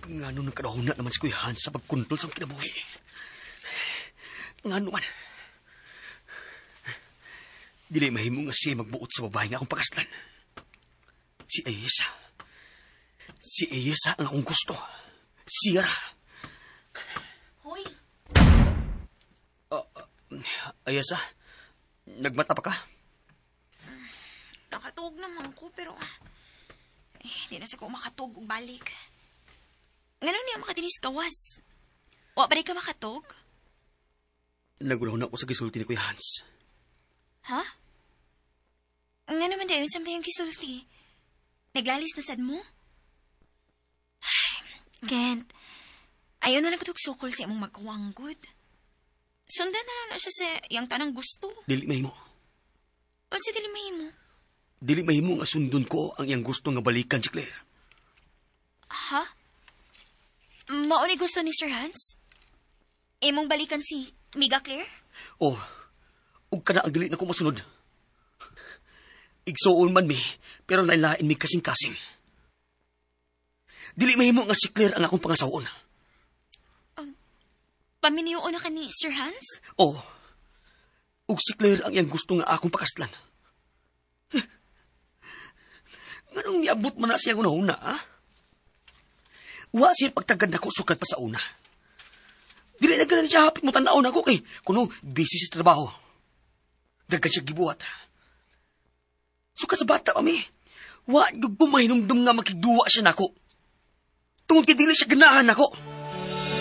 Ngano nagkadahuna naman si Kuya Hans sa pagkontrol sa akong kinabuhi? Ngano man? Dili mahimo nga siya magbuot sa babae nga akong pakaslan. Si Ayesa. Si Ayesa ang akong gusto. Siya ra. Hoy, Ayesa, nagmata pa ka? Nakatuog naman ko pero eh, di na sa ko makatuog og balik. Ngano niya makadinis kawas? Wa pa rin ka makatuog? Nagulaw na ako sa gisulti ni Kuya Hans. Ha? Nga naman di ayon sa yung gisulti. Naglalis na sad mo? Ay, Kent, ayaw na lang ko sukol sa imong magkawanggod. Sundan na lang na siya sa iyang tanang gusto. Dili mahimo. Unsa dili mahimo? Dili mahimo nga sundon ko ang iyang gusto nga balikan si Claire. Ha? Mao ni gusto ni Sir Hans? Imong balikan si Miga Claire? Oh, ug kana ang dili na ko masunod. Igsuon man mi, pero lain-lain mi kasing-kasing. Dili mahimo nga si Claire ang akong pangasawon. Paminyoon na ka ni Sir Hans? Oh, ug si Claire ang iyang gusto nga akong pakaslan. Nganong niabot man na siyang una-una, ha? Wa siya pagtagad nako sukad pa sa una. Dili na gani siya hapit mo tan-aw nako kay kuno busy sa trabaho. Daghan siya gibuhat. Sukad sa bata pa mi, wa gyud ko mahinumdum nga makigduwa siya nako. Tungod kay dili siya ganahan nako.